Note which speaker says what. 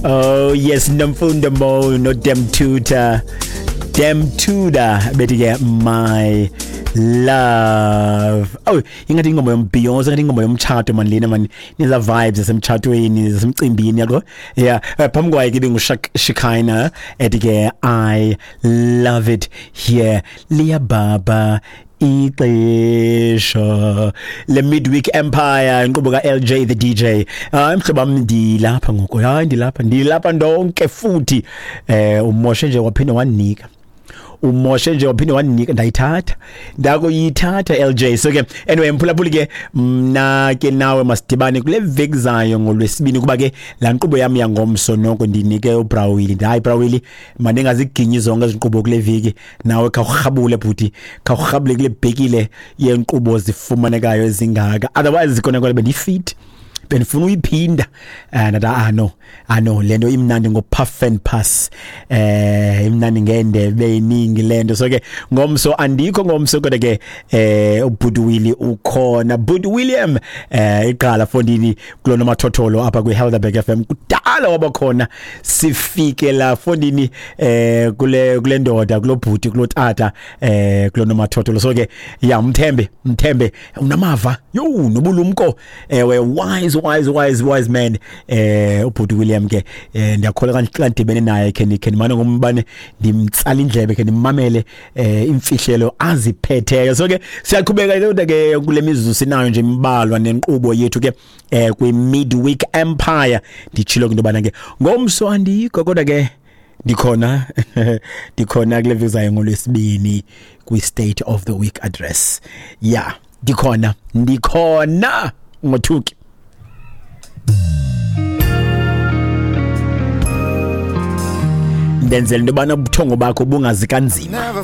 Speaker 1: Oh yes, Nomfundo Mo no Demtuda. Demtuda bethi ke my love. Oh, ingathi ingoma yombhiyozo, ingathi ingoma yomtshato man lena man. Niza vibes zasemtshatweni, zasemcimbini yabo. Yeah, phambi kwayo ke ibinguShikina ethi ke I love it here. Liyababa ixesha le midweek empire, inkqubo ka-LJ the DJ. Hayi mhlobo wam, ndilapha ngoku. Hayi, ndilapha, ndilapha ndonke futhi. Umoshe nje waphinde wanika, umoshe nje waphinde wanika, ndayithatha, ndakuyithatha LJ. So ke anyway, mphulaphuli ke, mna ke nawe masidibane kule veki zayo ngolwesibini, kuba ke laa nkqubo yam yangomso noko ndinike uBrawili. Hayi Brawili, mandingaziginyi zonke ezi nkqubo kule veki, nawe khawurhabule bhuti, khawurhabule kule bhekile yenkqubo zifumanekayo ezingaka. Otherwise kona kona bendifit, bendifuna uyiphinda, ndathi ah no, ah no, le nto imnandi ngo-puff and pass, imnandi ngendebe eyiningi le nto. So ke ngomso andikho ngomso, kodwa ke ubhuti Willie ukhona, bhuti William, iqala fondini kulo nomathotholo apha kwi-Helderberg FM, kudala wabakhona. Sifike la fondini kule ndoda, kulo bhuti, kulo tata, kulo nomathotholo. So ke ya, mthembe, mthembe, unamava yo nobulumko, ewe, wise, wise, wise, wise man, ubhuti William ke. Ndiyakholwa xa ndidibene naye khe ndimane ngombane ndimtsala indlebe, khe ndimamele imfihlelo aziphetheyo. So ke siyaqhubeka kodwa ke kule mizuzu sinayo nje imbalwa nenkqubo yethu ke kwi midweek empire. Nditshilo ke into yobana ke ngomso andikho, kodwa ke ndikhona, ndikhona kule veki ngolwesibini kwi-state of the week address. Yeah, ndikhona, ndikhona, ngothuki. Ndenzela into yobana ubuthongo bakho bungazi kanzima.